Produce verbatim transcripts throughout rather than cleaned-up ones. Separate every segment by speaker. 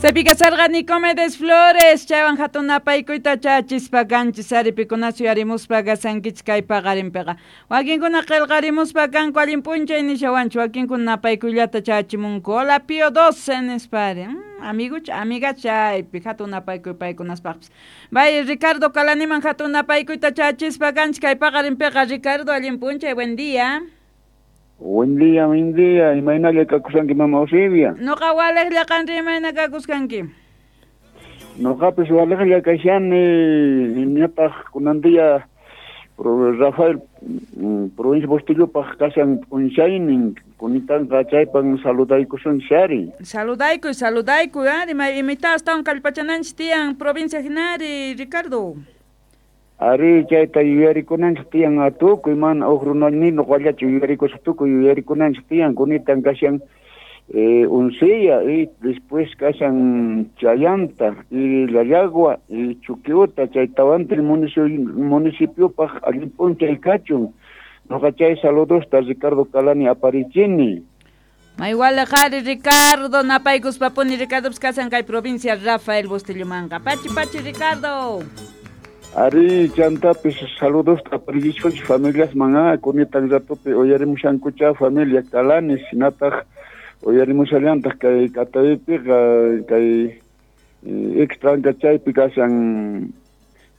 Speaker 1: Chaypiqa sarqa Nicomedes Flores, chaywan hatun napaykuyta chachispa kanchis ari pikunachu yuyarimuspa kasankichik kay paqarinpiqa. Wakinkuna qillqarimuspa kanku allin p'unchay nishawanchu, wakinkuna napaykuyllata chachimunku. Hola Pío doce nispari. Mm, amigucha, amiga chaypi hatun napaykuy paykunaspaqpis. Bay Ricardo Calaniman hatun napaykuyta chachispa kanchik kay paqarinpiqa. Ricardo, allin p'unchay, buen día.
Speaker 2: Buen día, buen día. Imaynalla kakushanki mama Eusebia.
Speaker 1: Noqa waliqlla qanri imayna kakuskanki.
Speaker 2: Noqapis waliqlla kashani ñataq kunan día Rafael provincia Bustillopaq kashan p'unchaynin kunitanqa chaypan saludaykusun shari.
Speaker 1: Saludaykuy, saludaykuy, ari imita astawan kallpachananchis tiyan provincia hinari, Ricardo.
Speaker 2: Ari chayta yuyarikunanchik tiyan tukuy mana huk runani noqallachu yuyarikusaq tukuy yuyarikunanchik tiyan kunitan kashan eh, Uncilla y después kashan Chayanta y Llallagua y Chuquiuta chay tawantin municipiopaq allin p'unchay kachun noqa chay saludosta Ricardo Calani aparichini.
Speaker 1: Maywala qhari Ricardo napaykuspapuni Ricardo kasan kay provincia Rafael Bustillomanqa. Pachi pachi Ricardo.
Speaker 2: Ari chantapis saludos aparichishunchik familias manga kunitan ratupi uyarimushankucha familia Calani hinataq uyarimushallantaq kay Catavipiqa kay extranka chaypi kashan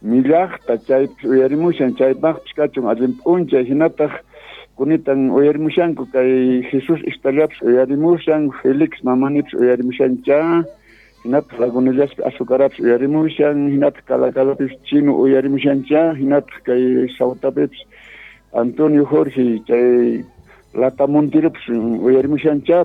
Speaker 2: millaqta chaypis uyarimushan chaypaqpis kachun allin p'unchay hinataq kunitan uyarimushanku kay Jesús Ixtallapis uyarimushan Felix mamanipis uyarimushancha hinataq Lagunillaspi azucarapis uyarimushan hinataq Calacalatapis chino uyarimushancha hinataq kay Sautapipis Antonio Jorge chay Latamontiropis uyarimushancha